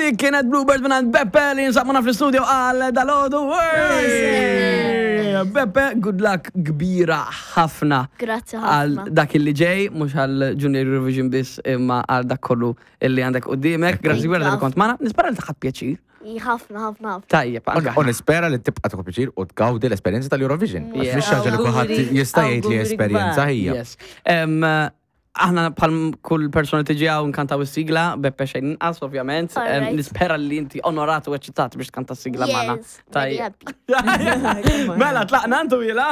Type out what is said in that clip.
Dik kienet Bluebird minn Beppe li jinsab magħna fl-istudio għal dalgħodu. Beppe, good luck kbira ħafna. Grazzi Għal ħafna. dak illi ġej, mhux għal Junior Eurovision biss imma għal dak kollu illi għandek qudiemek. Grazzi kbira li kont magħna. Nispera li taħat pjaċir. Ħafna, ħafna, ħafna. Tajjeb, anke. U nispera li tibqa' tieħu pjaċir u tgawdi l-esperjenza tal-Eurovision. Għax mhix xi ħaġa li kulħadd Awguri, jista' jgħid li awguri esperjenza kbar. hija. Yes. Aħna bħal kull persona tiġi hawn nkantaw is-sigla, Beppe xejn inqas ovvjament. Alright. Nispera li inti onorat u eċitat biex tkanta s-sigla magħna. Yes, very Tajjeb. happy. Mela, tlaqna ntu jila?